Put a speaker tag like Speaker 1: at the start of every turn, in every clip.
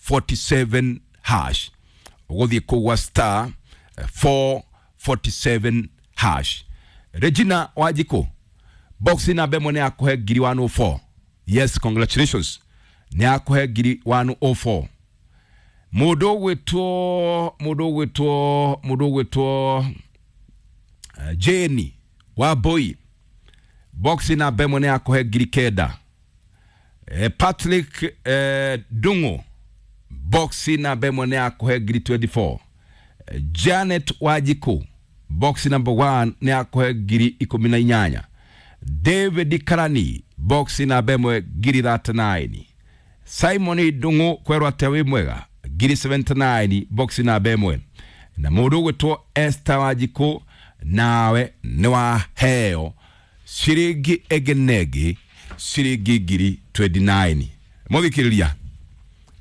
Speaker 1: 447 hash. Ũgũthiĩ kũu gwa star 447 hash. Regina Wanjikũ, box namba ĩmwe nĩ yakũhe ngiri 104. Yes, congratulations, nĩ yakũhe ngiri 104. Mũndũ ũgwĩtwo mũndũ ũgwĩtwo mũndũ ũgwĩtwo Jane wa Boy, box namba ĩmwe nĩ yakũhe ngiri 9. Patrick Dungu, box namba ĩmwe nĩ yakũhe ngiri 24. Janet Wanjikũ, box number 1 nĩ yakũhe ngiri 18. David Karani, box namba ĩmwe ngiri 39. Simon Ndung'u, kwerwo atĩa, wĩ mwega, ngiri 79, box namba ĩmwe. Na mũndũ ũgwĩtwo Esther Wanjikũ, nawe nĩ waheo ciringi ĩngĩ na ĩngĩ, ciringi ngiri 29. Mũthikĩrĩria,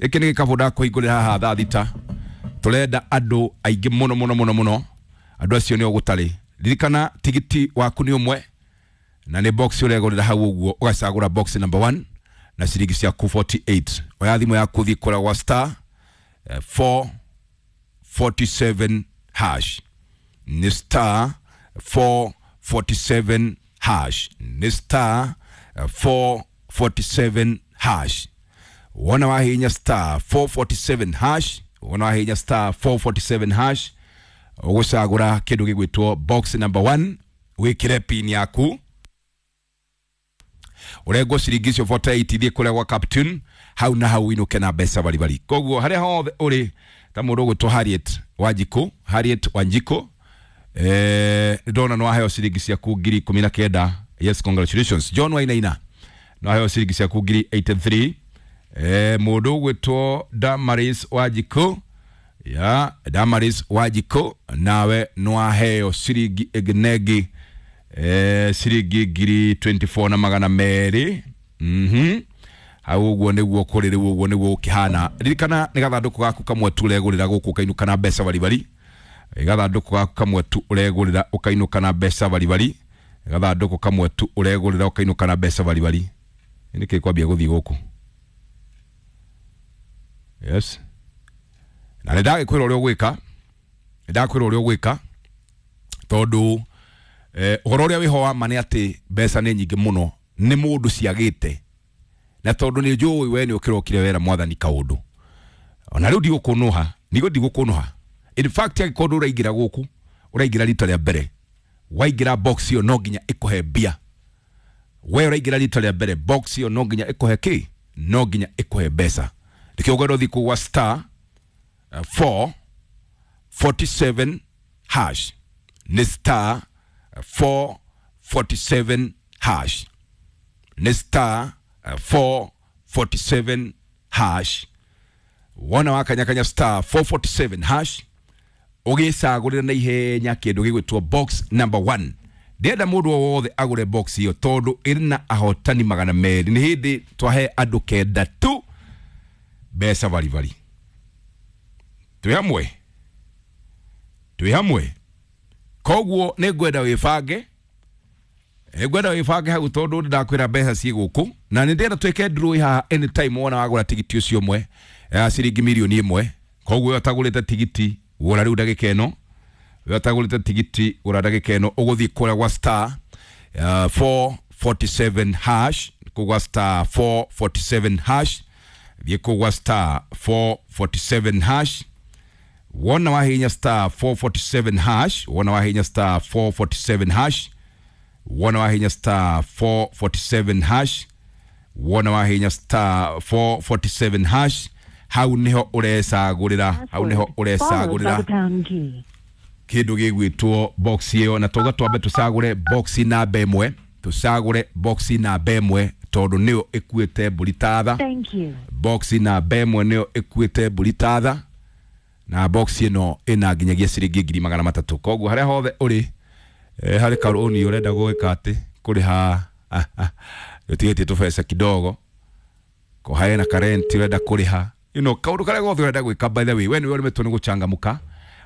Speaker 1: gĩkĩ nĩ gĩkabũ ndakũhingũrĩra haha thaa 6. Tũrenda andũ aingĩ mũno mũno mũno mũno. Andũ acio nĩo gũtarĩ. Ririkana tigiti waku nĩ ũmwe na nĩ box ũregũrĩra hau ũguo, ũgacagũra box number 1 na ciringi ciaku 48. Oya thimũ yaku, thiĩ kũrĩa gwa star 447 hash. Nĩ star 447 hash, nĩ star 447 hash. Wona wahinya star 447 hash, wona wahinya star 447 hash, ũgũcagũra kĩndũ gĩgwĩtwo box number 1, wĩkĩre pin yaku, ũrengwo ciringi icio 48, thiĩ kũrĩa gwa Captain hau na hau inũke na mbeca baribari. Koguo harĩa hothe ũrĩ, ta mũndũ ũgwĩtwo Harriet Wanjikũ, Harriet Wanjikũ, ndona nĩ waheo ciringi ciaku ngiri 19. Yes, congratulations. John Wainaina, nĩ waheo ciringi ciaku ngiri 83. Mũndũ ũgwĩtwo Damaris Wanjikũ, ya Damaris Wanjikũ, nawe nĩ waheo ciringi ĩngĩ na ĩngĩ, ciringi ngiri 24 na magana merĩ. Hau ũguo nĩguo kũrĩ rĩu, ũguo nĩguo gũkĩhana. Ririkana nĩ gathandũkũ gaku kamwe tu ũregũrĩra gũkũ, ũkainũka na mbeca baribari. Gathandũkũ gaku kamwe tu ũregũrĩra, ũkainũka na mbeca baribari. Gathandũkũ kamwe tu ũregũrĩra, ũkainũka na mbeca baribari. Nĩkĩ kwambia gũthiĩ gũkũ? Yes, na nĩ ndagĩkwĩra ũrĩa ũgwĩka, nĩ ndakwĩra ũrĩa ũgwĩka, tondũ ũhoro ũrĩa wĩho wa ma nĩ atĩ mbeca nĩ nyingĩ mũno, nĩ mũndũ ciagĩte. Na tondũ nĩ njũĩ we nĩ ũkĩrokire wera mwathani kaũndũ, ona rĩu ndigũkũnũha, nĩguo ndigũkũnũha. In fact, angĩkorwo ndũraingĩra gũkũ, ũraingĩra rita rĩa mbere, waingĩra box ĩyo no nginya ĩkũhe mbia. We ũraingĩra rita rĩa mbere, box ĩyo no nginya ĩkũhe kĩ? No nginya ĩkũhe mbeca. Nĩkĩo ũkwenda ũthiĩ kũu gwa star 447 hash. Nĩ star 447 hash, nĩ star 447 hash. Wona wakanyakanya star 447 hash, ũgĩcagũrĩra na ihenya kĩndũ gĩgwĩtwo box number 1. Ndĩrenda mũndũ o wothe agũre box ĩyo, tondũ ĩrĩ na ahotani 200. Nĩ hĩndĩ twahe andũ 9 tu mbeca baribari. Twĩ hamwe, twĩ hamwe. Koguo nĩ ngwenda wĩbange, nĩ ngwenda wĩbange hau, tondũ nĩ ndakwĩra mbeca ciĩ gũkũ, na nĩ ndĩrenda twĩke draw haha anytime wona wagũra tigiti ũcio ũmwe ya ciringi mirioni 1. Koguo we ũtagũrĩte tigiti, gũra rĩu ndagĩka ĩno. We ũtagũrĩte tigiti, gũra ndagĩka ĩno. Ũgũthiĩ kũrĩa gwa star 447 hash, kũu gwa star 447 hash. Thiĩ kũu gwa star 447 hash. Wona wahinya star 447 hash, wona wahinya star 447 hash, wona wahinya star 447 hash, wona wahinya star 447 hash, hau niho ũrecagũrĩra, hau niho ũrecagũrĩra kĩndũ gĩgwĩtwo box ĩyo. Na tauga twambe tũcagũre box namba ĩmwe, tũcagũre box namba ĩmwe, tondũ nĩyo ĩkuĩte mbũri tatha. Box namba ĩmwe nĩyo ĩkuĩte mbũri tatha, na box ĩno ĩna nginyagia ciringi ngiri 300. Koguo harĩa hothe ũrĩ, harĩ karũni ũrenda gwĩka atĩ kũrĩha, ũtigĩtie tũbeca kidogo, ko harĩ na karenti ũrenda kũrĩha, kaũndũ karĩa gothe ũrenda gwĩka, by the way, we nĩwe ũrĩmĩtwo nĩ gũchangamũka,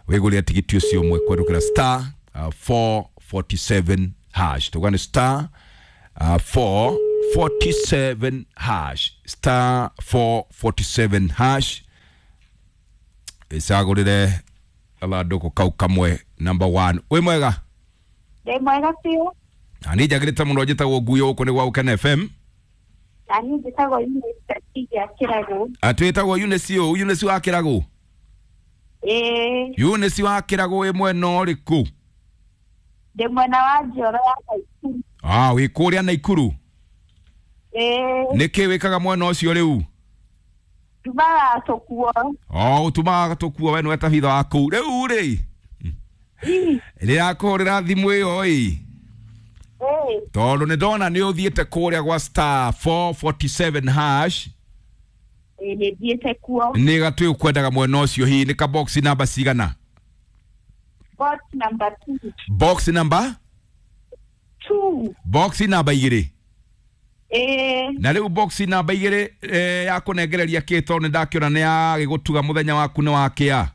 Speaker 1: wĩgũrĩre tigiti ũcio ũmwe kũhetũkĩra star 447 hash. Tuga nĩ star 447 hash, star 447 hash. Icagũrĩre gathandũkũ kau kamwe number 1. Wĩ mwega?
Speaker 2: Ndĩ mwega biũ.
Speaker 1: Na niĩ njagĩrĩte mũno, njĩtagwo Nguyo, gũkũ nĩ gwa Gũkena FM.
Speaker 2: Na niĩ njĩtagwo Eunice ya Kĩragũ.
Speaker 1: Atwĩtagwo Eunice ũ? Eunice wa Kĩragũ?
Speaker 2: Ĩĩ.
Speaker 1: Eunice wa Kĩragũ wĩ mwena ũrĩkũ?
Speaker 2: Ndĩ mwena wa Njoro ya Naikuru.
Speaker 1: Ah, wĩ kũrĩa Naikuru?
Speaker 2: Ĩĩ.
Speaker 1: Nĩkĩ wĩkaga mwena ũcio rĩu?
Speaker 2: Ndumaga tũkuo.
Speaker 1: O ũtumaga tũkuo, we nĩwe tabitha wa kũu rĩu rĩ? Rĩrakũhũrĩra thimũ ĩyo ĩ tondũ nĩ ndona nĩ ũthiĩte kũrĩa gwa star 447 hash.
Speaker 2: Ĩĩ, nĩ thiĩte kuo.
Speaker 1: Nĩ gatwĩ ũkwendaga mwena ũcio, hihi nĩ ka box namba cigana?
Speaker 2: Box number 2.
Speaker 1: Box number
Speaker 2: 2.
Speaker 1: Box namba igĩrĩ?
Speaker 2: Ĩĩ.
Speaker 1: Na rĩu box namba igĩrĩ yakũnengereria kĩ, tondũ nĩ ndakĩona nĩ yagĩgũtuga mũthenya waku nĩ wakĩa?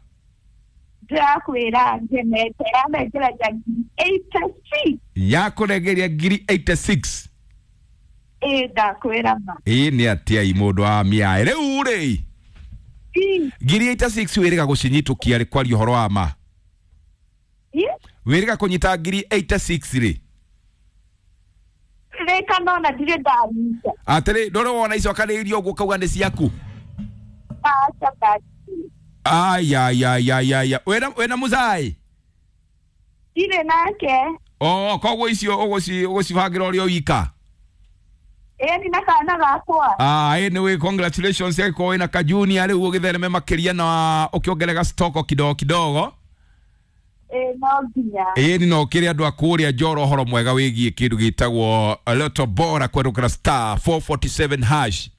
Speaker 2: Ndĩrakwĩra ngenete, yanengeragia 86.
Speaker 1: Yakũnengeria ngiri 86?
Speaker 2: Ĩĩ, ndakwĩra ma.
Speaker 1: Ĩ nĩ atĩa i mũndũ wa mĩaĩ rĩu rĩ? Ngiri 86 wĩrĩga gũcinyitũkia rĩ, kwaria ũhoro wa ma? Wĩrĩga kũnyita ngiri 86 rĩ?
Speaker 2: Rĩka nona ndirĩ ndanyita.
Speaker 1: Atĩrĩ, ndũrĩ wona icokanĩrĩirio ũguo ũkauga nĩ ciaku?
Speaker 2: Aca, ndati.
Speaker 1: Ayayayayaya, wĩna mũcai?
Speaker 2: Ndirĩ nake.
Speaker 1: O koguo icio ũgũcibangĩra ũrĩ o wika?
Speaker 2: Ĩĩ, na kana gakwa.
Speaker 1: Ah, anyway, congratulations yako wĩna kajunia rĩu ũgĩthereme makĩria na ũkĩongerera stoko kidogo kidogo.
Speaker 2: Ĩĩ, no nginya.
Speaker 1: Ĩĩ, no kĩrĩ andũ a kũrĩa Njoro ũhoro mwega wĩgiĩ kĩndũ gĩtagwo Lotto Bora kwerũkĩra star 447 hash.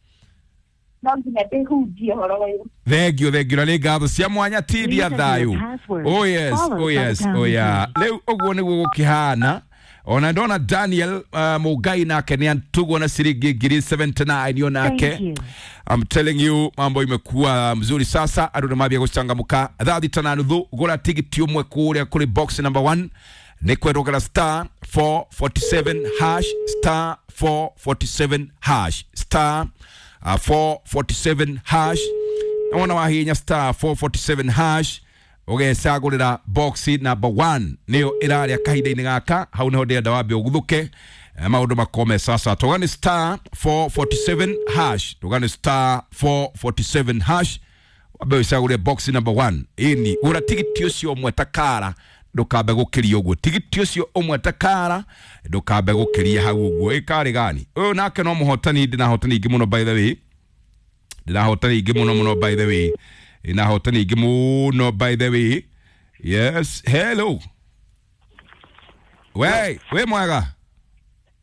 Speaker 2: No nginya ndĩhunjie ũhoro ũyũ.
Speaker 1: Thengio, thengio, na nĩ ngatho cia mwanya tindia thayũ. Oh yes, oh yes, oh yeah. Rĩu ũguo nĩguo gũkĩhana. Ona ndona Daniel Mugai nake nĩ antugwo na ciringi ngiri 79 yo nake. I'm telling you, mambo imekuwa mzuri sasa, andũ nĩ mambia gũcangamũka. Thaa thita na nuthu, gũra tigiti ũmwe kũrĩa kũrĩ box number 1 nĩ kwerũgera star 447 hash, star 447 hash, star 447 hash. Na wona wahinya star 447 hash ũgecagũrĩra box number 1 nĩyo ĩrarĩa kahinda-inĩ gaka, hau nĩho ndĩrenda wambe ũguthũke, maũndũ makome sasa. Tũgani star 447 hash, tũgani star 447 hash, wambe ũcagũre box number 1. Ĩni gũra tigiti ũcio ũmwe takara, ndũkambe gũkĩria ũguo, tigiti ũcio ũmwe takara, ndũkambe gũkĩria hau ũguo. Ĩkarĩ gani ũyũ nake no mũhotani, ndĩnahotani ingĩ mũno by the way, ndĩnahotani ingĩ mũno mũno by the way, ndĩnahotani ingĩ mũno by the way. Yes, hello. We, wĩ mwega?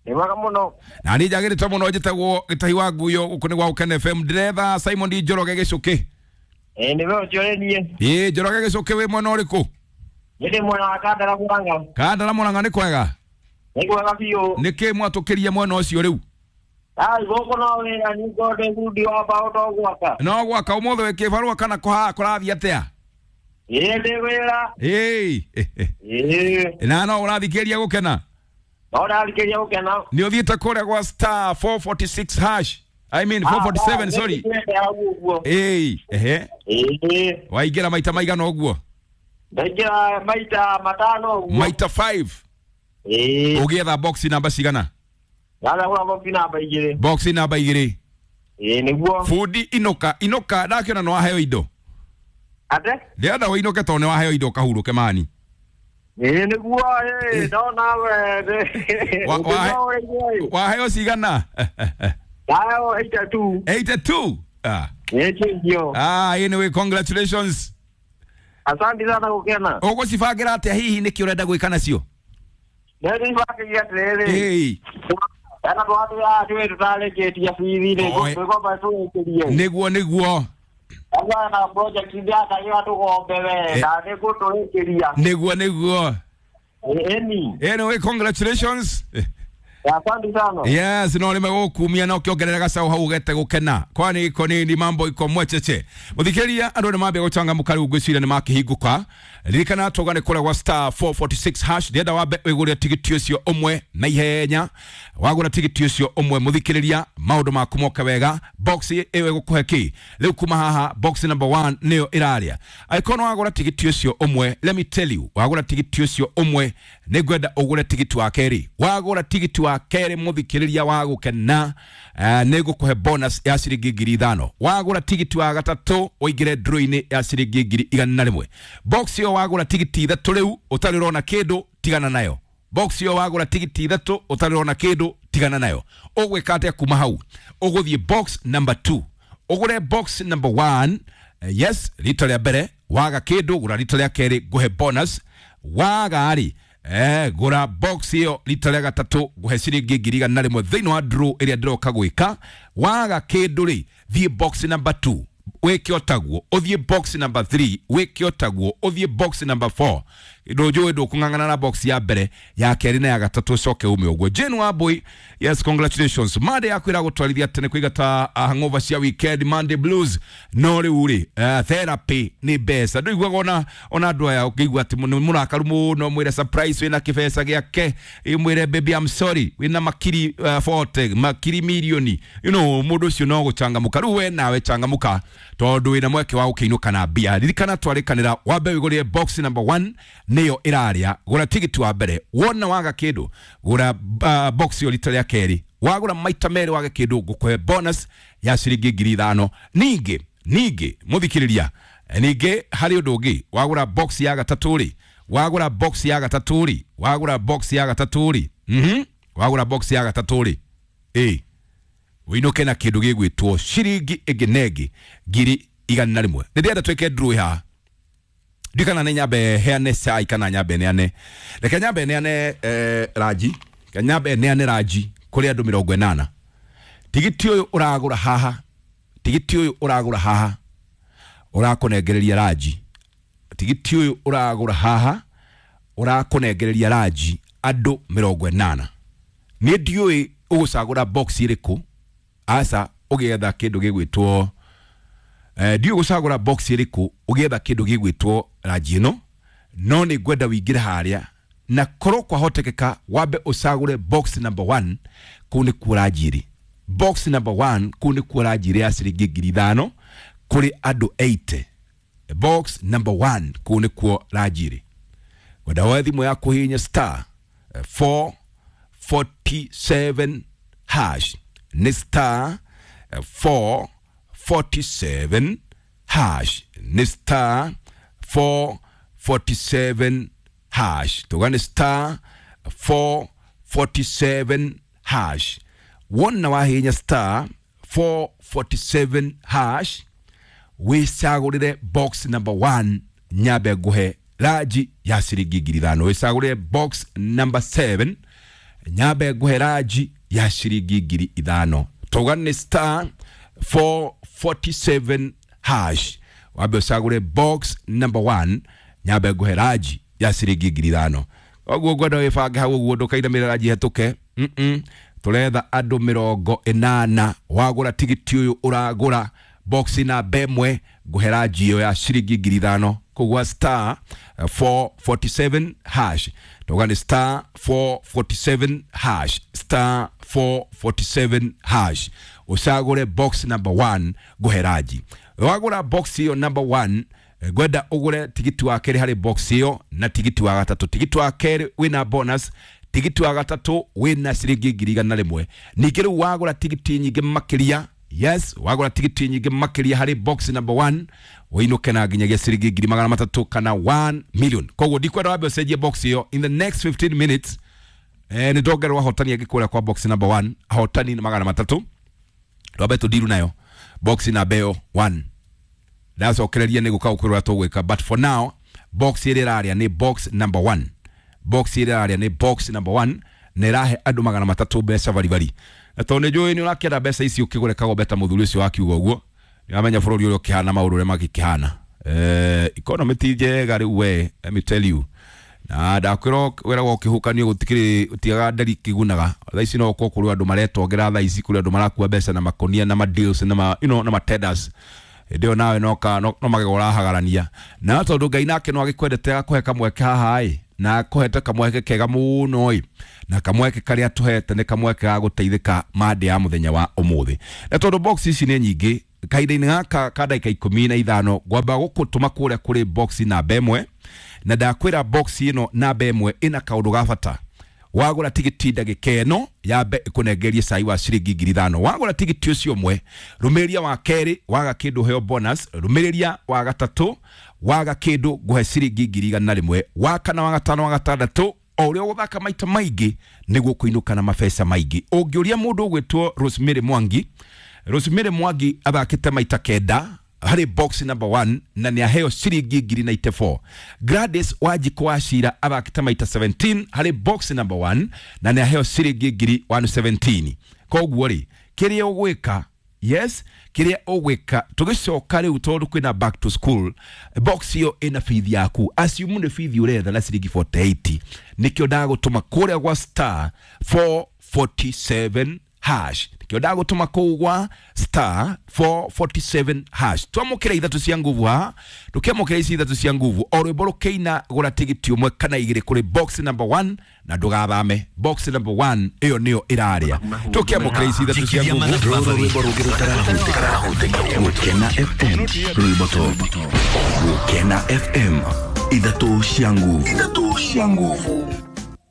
Speaker 3: Nĩ mwega mũno.
Speaker 1: Na niĩ njagĩrĩte mũno, njĩtagwo Gĩtahi wa Nguyo, gũkũ nĩ gwa Gũkena FM. Ndĩretha Simon Njoroge Gĩcũkĩ.
Speaker 3: Ĩĩ, nĩwe ũcio nĩ niĩ.
Speaker 1: Ĩĩ, Njoroge Gĩcũkĩ, wĩ mwena ũrĩkũ?
Speaker 3: Nĩ ndĩ mwena wa Kandara Mũrang'a.
Speaker 1: Kandara Mũrang'a nĩ kwega?
Speaker 3: Nĩ kwega biũ.
Speaker 1: Nĩkĩ mwatũkĩria mwena ũcio rĩu?
Speaker 3: Ai, gũkũ no wĩra, ningĩ ndĩ bundi wa mbaũ, no gwaka.
Speaker 1: No gwaka. Ũmũthĩ wĩ kĩbarũa kana kũrathiĩ atĩa?
Speaker 3: Ĩĩ, ndĩ wĩra.
Speaker 1: Ĩĩ.
Speaker 3: Ĩĩ.
Speaker 1: Na no ũrathikĩrĩria Gũkena?
Speaker 3: No ndathikĩrĩria Gũkena.
Speaker 1: Nĩ ũthiĩte kũrĩa gwa star 446 hash, I mean 447, sorry. Ĩĩ, ehe.
Speaker 3: Ĩĩ.
Speaker 1: Waingĩra maita maigana ũguo?
Speaker 3: Ndaingĩra maita matano ũguo.
Speaker 1: Maita 5?
Speaker 3: Ĩĩ.
Speaker 1: Ũgĩetha box namba cigana?
Speaker 3: Ndagũra box namba igĩrĩ.
Speaker 1: Box namba igĩrĩ.
Speaker 3: Ĩĩ, nĩguo.
Speaker 1: Bundi inũka, inũka, ndakĩona nĩ waheo indo.
Speaker 3: Ate?
Speaker 1: Ndĩrenda ũinũke tondũ nĩ waheo indo ũkahurũke mani.
Speaker 3: Ĩĩ, nĩguo, ĩĩ, ndona we.
Speaker 1: Waheo cigana?
Speaker 3: Ndaheo 82.
Speaker 1: 82? Ah.
Speaker 3: Ĩĩ, kĩngio.
Speaker 1: Ah, anyway, congratulations.
Speaker 3: Asante sana Gũkena.
Speaker 1: Ũgũcibangĩra atĩa hihi, nĩkĩ ũrenda gwĩka nacio?
Speaker 3: Ndĩcibangĩire atĩrĩrĩ.
Speaker 1: Ĩĩ.
Speaker 3: Ena twana twĩ tũtarĩkĩtie bithi rĩ, twĩgomba tũrĩkĩrie.
Speaker 1: Nĩguo, nĩguo.
Speaker 3: Agĩa na project ndĩrakagĩra tũgombe we, na nĩngũtũrĩkĩria.
Speaker 1: Nĩguo, nĩguo.
Speaker 3: Ĩni.
Speaker 1: Anyway, congratulations.
Speaker 3: Asante sana.
Speaker 1: Yes, no nimegũkumia na ũkĩongerera gacaũ hau ũgete gũkena, kwani iko nini mambo iko mwecheche. Mũthikĩrĩria, andũ nĩ mambia gũcangamũka rĩu, ngwĩciria nĩ makĩhingũka. Ririkana tũga nĩ kũrĩa gwa star 446 hash. Ndĩrenda wambe wĩgũrĩre tigiti ũcio ũmwe na ihenya. Wagũra tigiti ũcio ũmwe, mũthikĩrĩria, maũndũ maku moke wega. Box ĩyo ĩgũkũhe kĩ rĩu? Kuma haha box number 1 nĩyo ĩrarĩa. Angĩkorwo nĩ wagũra tigiti ũcio ũmwe, let me tell you, wagũra tigiti ũcio ũmwe, nĩ ngwenda ũgũre tigiti wa kerĩ. Wagũra tigiti wa kerĩ, mũthikĩrĩria, wa gũkena, nĩ ngũkũhe bonus ya ciringi 5,000. Wagũra tigiti wa gatatũ, ũingĩre draw-inĩ ya ciringi 100,000. Box ĩyo wagũra tigiti ithatũ rĩu ũtarĩ ũrona kĩndũ, tigana nayo. Box ĩyo wagũra tigiti ithatũ ũtarĩ ũrona kĩndũ, tigana nayo. Ũgwĩka atĩa kuma hau? Ũgũthiĩ box number 2, ũgũre box number 1. Yes, rita rĩa mbere waga kĩndũ, gũra rita rĩa kerĩ, ngũhe bonus. Waga rĩ, gũra box ĩyo rita rĩa gatatũ, ngũhe ciringi 100,000 thĩinĩ wa draw ĩrĩa ndĩroka gwĩka. Waga kĩndũ rĩ, thiĩ box number 2, wĩke otaguo. Ũthiĩ box number 3, wĩke otaguo. Ũthiĩ box number 4. Ndũnjũĩ ndũkũng'ang'ana na box ya mbere, ya kerĩ na ya gatatũ, ũcoke ume ũguo. Jane Wambui, yes, congratulations. Monday yaku ĩragũtwarithia tene kũigata hangover cia weekend, Monday blues. No rĩu rĩ, therapy nĩ mbeca. Ndũiguaga ona andũ aya ũkĩigua atĩ nĩ mũrakaru mũno, mwĩre surprise wĩna kĩbeca gĩake, mwĩre, "Baby, I'm sorry," wĩna makiri 40, makiri milioni, mũndũ ũcio no gũcangamũka. Rĩu we nawe cangamũka, tondũ wĩna mweke wa gũkĩinũka na mbia. Ririkana twarĩkanĩra wambe wĩgũrĩre box number 1, nĩyo ĩrarĩa. Gũra tigiti wa mbere, wona waga kĩndũ, gũra box ĩyo rita rĩa kerĩ. Wagũra maita merĩ wage kĩndũ, ngũkũhe bonus ya ciringi 5,000. Ningĩ mũthikĩrĩria, ningĩ harĩ ũndũ ũngĩ. Wagũra box ya gatatũ rĩ, wagũra box ya gatatũ rĩ, wagũra box ya gatatũ rĩ, wagũra box ya gatatũ rĩ, ĩ ũinũke na kĩndũ gĩgwĩtwo ciringi ĩngĩ na ĩngĩ 100,000. Nĩ ndĩrenda twĩke draw haha. Ndikana nĩ nyambe heane cai kana nyambe neane? Reke nyambe neane ranji. Reke nyambe neane ranji kũrĩ andũ 80. Tigiti ũyũ ũragũra haha, tigiti ũyũ ũragũra haha ũrakũnengereria ranji. Tigiti ũyũ ũragũra haha ũrakũnengereria ranji andũ 80. Niĩ ndiũĩ ũgũcagũra box ĩrĩkũ, aca ũgĩetha kĩndũ gĩgwĩtwo, ndiũĩ gũcagũra box ĩrĩkũ ũgĩetha kĩndũ gĩgwĩtwo ranji ĩno, no nĩ ngwenda wĩingĩre harĩa na korwo kwahotekeka wambe ũcagũre box number 1. Kũu nĩkuo ranji ĩrĩ. Box number 1, kũu nĩkuo ranji ĩrĩ ya ciringi 5,000 kũrĩ andũ 80. Box number 1, kũu nĩkuo ranji ĩrĩ. Wenda woe thimũ yaku, hihinya star 447 hash. Nĩ star 447 hash. Nĩ star 447 hash. Tuga nĩ star 447 hash. Wona wahihinya star 447 hash, wĩcagũrĩre box number 1, nyambe nguhe ranji ya ciringi 5,000. Wĩcagũrĩre box number 7, nyambe nguhe ranji ya ciringi 5,000. Tauga nĩ star 447 hash, wambe ũcagũre box number 1, nyambe nguhe ranji ya ciringi 5,000. Koguo ngwenda wĩbange hau ũguo, ndũkainamĩrĩra ranji hetũke. Tũretha andũ 80. Wagũra tigiti ũyũ ũragũra box namba ĩmwe, ngũhe ranji ĩyo ya ciringi 5,000 kũgwa star 447 hash. Tauga nĩ star 447 hash, star 447 hash, ũcagũre box number 1, ngũhe ranji. Wagũra box ĩyo number 1, ngwenda ũgũre tigiti wa kerĩ harĩ box ĩyo na tigiti wa gatatũ. Tigiti wa kerĩ wĩna bonus, tigiti wa gatatũ wĩna ciringi 100,000. Ningĩ rĩu wagũra tigiti nyingĩ makĩria, yes, wagũra tigiti nyingĩ makĩria harĩ box number 1, ũinũke na nginyagia ciringi 300,000 kana 1 million. Koguo ndikwenda wambe ũcenjie box ĩyo. In the next 15 minutes, nĩ ndongererwo ahotani angĩ kũrĩa kwa box number 1. Ahotani nĩ 300. Twambe tũndiru nayo box namba ĩyo 1, ndacokereria nĩ gũka gũkwĩrwo ũrĩa tũgwĩka. But for now, box ĩrĩa ĩrarĩa nĩ box number 1. Box ĩrĩa ĩrarĩa nĩ box number 1, na ĩrahe andũ 300 mbeca baribari. Na tondũ nĩ njũĩ nĩ ũrakĩenda mbeca ici, ũkĩgũre kagombe ta mũthuri ũcio wakiuga ũguo. Nĩ wamenya bũrũri ũrĩa ũkĩhana, maũndũ ũrĩa magĩkĩhana, economy ti njega rĩu. We, let me tell you, Na ndakwĩra wĩragwo ũkĩhukanio gũtikĩrĩ ũtigaga nderi kĩgunaga. Thaa ici no ũkorwo kũrĩ andũ maretongera, thaa ici kũrĩ andũ marakua mbeca na makonia na ma deals na ma, you know, na ma tenders. Hĩndĩ ĩyo nawe no magego ũrahagarania. Na tondũ Ngai nake no agĩkwendete agakũhe kamweke haha ĩ, na akũhete kamweke kega mũno ĩ, na kamweke karĩa tũhete nĩ kamweke ga gũteithĩka mande ya mũthenya wa ũmũthĩ. Na tondũ box ici nĩ nyingĩ, kahinda-inĩ gaka ka ndagĩka 15 ngwamba gũkũtũma kũrĩa kũrĩ box namba 1, na ndakwĩra box ĩno namba 1 ĩna kaũndũ ga bata. Wagũra tigiti ndagĩka ĩno yambe ĩkũnengerie cai wa ciringi 5,000. Wagũra tigiti ũcio ũmwe, rũmĩrĩria wa kerĩ waga kĩndũ heo bonus, rũmĩrĩria wa gatatũ waga kĩndũ ngũhe ciringi 100,000, wa kana, wa gatano, wa gatandatũ, o ũrĩa ũgũthaka maita maingĩ nĩguo kũinũka na mabeca maingĩ. Ũngĩũria mũndũ ũgwĩtwo Rosemary Mwangi, Rosemary Mwangi athakĩte maita 9 harĩ box number 1 na nĩ aheo ciringi 94,000. Gladys Wanjikũ wa Cira athakĩte maita 17 harĩ box number 1 na nĩ aheo ciringi 117,000. Koguo rĩ, kĩrĩa ũgwĩka, yes, kĩrĩa ũgwĩka tũgĩcoka rĩu, tondũ kwĩna back to school, box ĩyo ĩna bithi yaku, assume nĩ bithi ũretha na ciringi 48, nĩkĩo ndagũtũma kũrĩa gwa star 447 hash, nĩkĩo ndagũtũma kũu gwa star 447 hash. Twamũkĩra ithatũ cia nguvu haha, ndũkĩamũkĩra ici ithatũ cia nguvu, o rwĩmbo rũkĩina gũra tigiti ũmwe kana igĩrĩ kũrĩ box number 1 na ndũgathame. Box number 1 ĩyo nĩyo ĩrarĩa. Tũkĩamũkĩra ici ithatũ cia nguvu.
Speaker 4: Rũrũ rwĩmbo rũngĩ rũtarahutĩka. Gũkena FM, rwĩmbo top. Gũkena FM, ithatũ cia nguvu, ithatũ cia nguvu.